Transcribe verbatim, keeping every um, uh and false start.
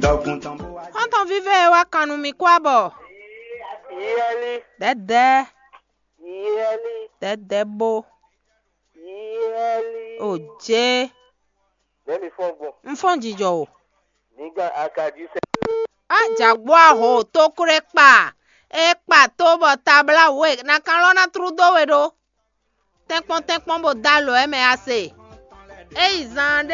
Xɔ́ntɔn vívɛ́ e wá kan nú mì kú abɔ. Yɛli, Dɛ̌dɛ̌, yɛli, dɛ̌dɛ̌ bó. Yɛli. O jé, Nɛ̌ mi fɔ́n gbɔn? Un fɔ́n jijɔ o. Mi gán akají sɛ. Á jǎgbó aho tókwlékpa. É kpa tó bɔ tabláwu e nakanlɔ́ ná tlú dó we ɖó. Tɛ́nkpɔ́n tɛ́nkpɔ́n bó dó alɔ ɛ mɛ a se. É yi zaan ɖé.